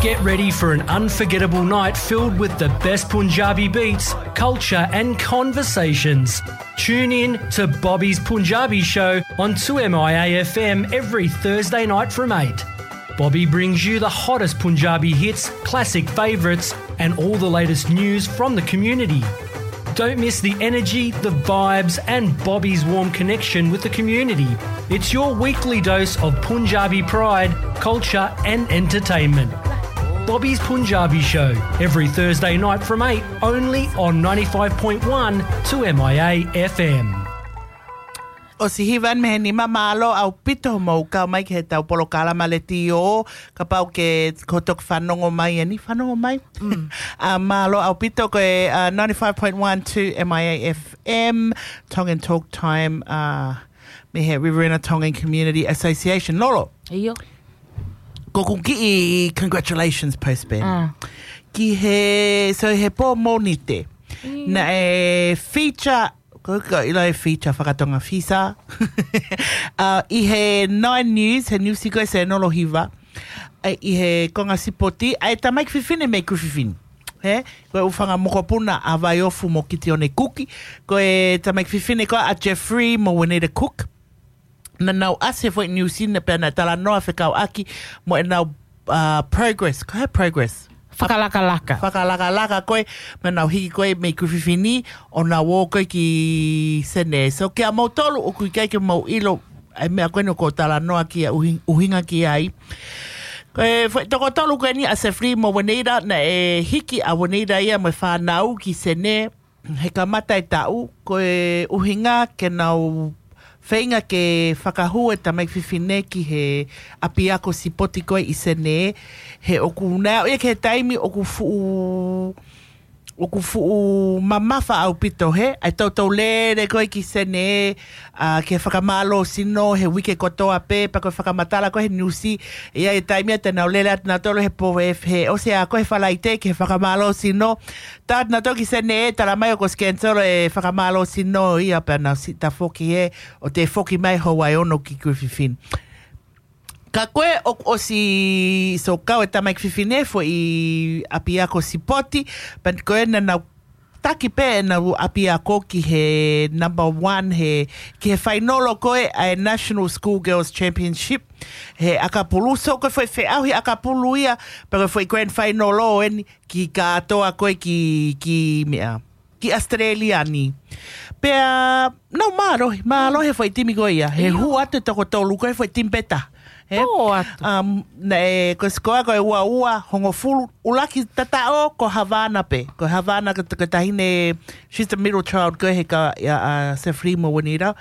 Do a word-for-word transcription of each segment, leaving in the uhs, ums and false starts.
Get ready for an unforgettable night filled with the best Punjabi beats, culture, and conversations. Tune in to Bobby's Punjabi Show on two M I A F M every Thursday night from eight. Bobby brings you the hottest Punjabi hits, classic favourites, and all the latest news from the community. Don't miss the energy, the vibes, and Bobby's warm connection with the community. It's your weekly dose of Punjabi pride, culture, and entertainment. Bobby's Punjabi Show, every Thursday night from eight, only on ninety-five point one two M I A F M. ʻOsi hiva eni mei he nima, mālō ʻaupito hoʻomou kau mai ki heʻetau polokalama letiō, kapau ʻoku ke toki fanongo mai eni, fanongo mai. Ā, mālō ʻaupito, ko e, ā, ninety-five point one two M I A F M, Tongan Talk Time, ā, mei he Riverina Tongan Community Association. Lolo. ʻIo. Ko ʻeku kiʻi congratulations post, Ben. Ā. Ki he, so he pō Mōnite. Naʻe feature, ko, ko ʻilo e feature fakatonga, feature. Ā, ʻi he Nine News, he niusi ko ē senolo hiva. ʻA ia ʻi he konga sipoti, ʻa e tamaiki fefine mei Kuki Fefine. He, ko e ʻū fanga mokopuna ʻa Vaiofu mo Kitione Kuki. Ko e tamaiki fefine ko ē ʻa Jeffrey mo Juanita Cook. Naʻa nau ʻasi he foʻi niusi ni pea naʻe talanoa fekauʻaki mo ʻenau, ā, progress. Ko e hā e progress? Fakalakalaka. Fakalakalaka ko ē, naʻa nau hiki ko ē mei Kuki Fefine, ʻo nau ō ko ē ki Senē. So, kiate kimoutolu ʻoku ʻikai ke mou ʻilo ʻa e meʻa ko eni ʻoku ou talanoa ki ai, ʻuhi-, ʻuhinga ki ai. Ko e foʻi toko tolu ko eni ʻa Jeffrey mo Juanita, naʻe hiki ʻa Juanita ia mo e fānau ki Senē, he kamata e taʻu, ko e ʻuhinga ke nau feinga ke fakahū e tamaiki fefine ki he ʻapiako sipoti ko ē ʻi Senē, he ʻoku nau ō ia ki he taimi ʻoku fuʻu, ʻoku fuʻu mamafa ʻaupito he, ʻa e toutou lele ko ē ki Senē, ā, ke fakamālōsino he uike kotoa pē, pea ko e fakamatala ko ē he niusi, ʻi he taimi ia te nau lele atu nautolu he pō, he, he ʻosi ā ko ē he Falaite ki he fakamālōsino, tā atu nautolu ki Senē, tala mai ʻoku ʻosi cancel e fakamālōsino ia pea nau siʻi tafoki he, ʻo toe foki mai houa ʻe ono ki Kuki Fefine. Ka ko ē ʻoku ʻosi, so, kau e tamaiki fefine he foʻi ʻapiako sipoti, pea ko ē naʻa nau taki pē ʻenau ʻapiako ki he number one he, ki he fainolo ko ē ʻa e National Schoolgirls Championship he ʻakapulu. So ko e foʻi feʻauhi ʻakapulu ia, pea ko e foʻi grand final ʻo eni ki kātoa ko ē ki, ki meʻa, ki Australia ni. Pea nau mālohi, mālohi e foʻi timi ko ia. He hū atu e toko tolu ko ē he foʻi timi pē taha. He, um, naʻe, ko e sikoa ko e ua ua, hongofulu, ʻuluaki tataʻo ko Havana pē. Ko Havana ko, ko e taʻahine, she's the middle child ko ē he ka, ʻa, ʻa Jeffrey mo Juanita.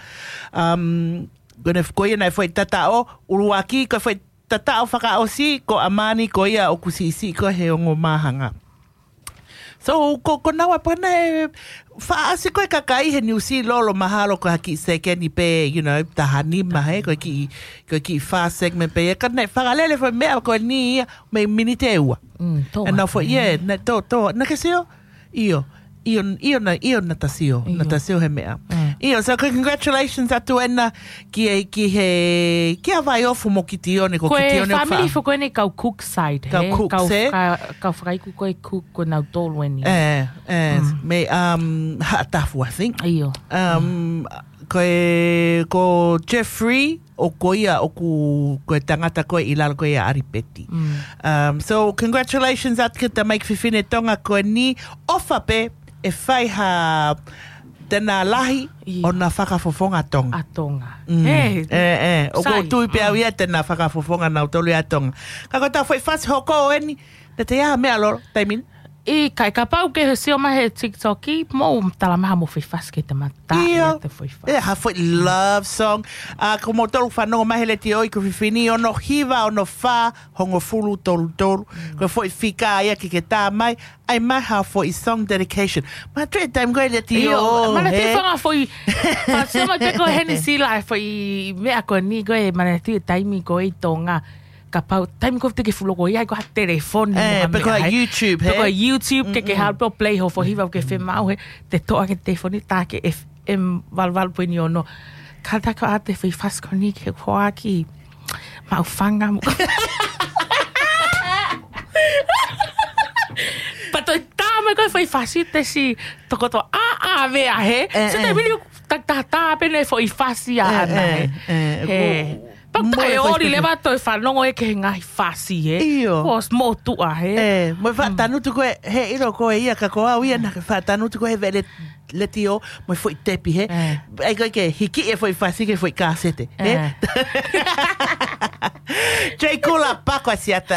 Um, ko ʻene, ko ia naʻe foʻi tataʻo ʻuluaki, ko e foʻi tataʻo fakaʻosi ko ʻAmani, ko ia ʻoku siʻisiʻi ko ē he ongo māhanga. So, ko, ko naua pē naʻe faʻa ʻasi ko ē kakai he niusi, Lolo, mahalo ko ha kiʻi sekeni pē, you know, taha nima he, ko e kiʻi, ko e kiʻi fā segment pē ia, ka naʻe fakalele foʻi meʻa ko eni ia mei miniti ʻe ua. Mm, tō atu, foʻi, yeah, naʻe tō, tō, naʻa ke sio? ʻIo, ʻio, ʻio naʻa, ʻio naʻa ta sio, naʻa ta sio he meʻa. ʻIo, so congratulations atu ena ki he, ki he, kia Vaiofu mo Kitione, ko Kitione ʻoku fāmili foʻi ko eni kau Cook side, kau he? Cook, kau, kau fakaiku ko ē Cook ko nautolu eni. ʻE, ʻe, mei, um, Haʻatafu, I think. ʻIo. Um, ko e, ko Jeffrey, ʻo ko ia ʻoku, ko e tangata ko ē ʻi lalo ko ia ʻa ʻAlipeti. Um, so, congratulations atu ki he tamaiki fefine Tonga ko eni, ʻofa pē ʻe fai ha tena lahi ʻo na fakafofonga Tonga. ʻA Tonga. Mm. He, ʻe, ʻe, ʻoku ou tui pē au ia te na fakafofonga nautolu ia Tonga. Ka ko ʻetau foʻi fasi hoko eni, naʻa te ʻi ai ha meʻa, Lolo, taimi ni? ʻIkai, kapau ʻoku ke sio mai he TikTok, mou tala mai haʻamou foʻi fasi ke te mata. ʻIo. Te foʻi fasi. ʻE, ha foʻi love song. ʻA, ko moutolu fanongo mai he letiō ʻi Kuki Fefine, ono hiva, ono fā, hongofulu tolu tolu. Ko e foʻi fika ia ke ke tā mai, ʻai mai ha foʻi song dedication. Ma tre time ko e letiō, ʻio, mana te he fanga foʻi, ma sio mai pē ko heni sila e foʻi meʻa ko eni ko e mana te taimi ko e ʻi Tonga. Kapau, taimi ko ē te ke fuʻu loko ia, ko ha telefoni, ʻe, pe ko ha YouTube, pe ko ha YouTube, ke ke halo pē ʻo play ho foʻi hiva ke femaʻu he, te toʻo ʻaki e telefoni tā ki he F M valu valu poini ono. Ka tā ko ʻete foʻi fasi ko eni ke hoa ki Maʻufanga mo pasi te si tokoto a a vea he. Eh, Se te eh. mili takitahata pē ne foʻi fasi a Eh, ana he. eh, eh, He. ku- Pau mo ta e e foʻi ori fasi. Leva toe fanongo e ke he ngaahi fasi he. ʻIo. Ko s motuʻa he. Eh, mo e faʻatanutu ko e, he ʻilo ko e ia ka ko au ia na ke faʻatanutu ko e he vele letio, mo e foʻi tepi he. Eh. Ai ko e ke hiki e foʻi fasi ke foʻi kasete. He? Eh. Jay Kula Pako Asiata,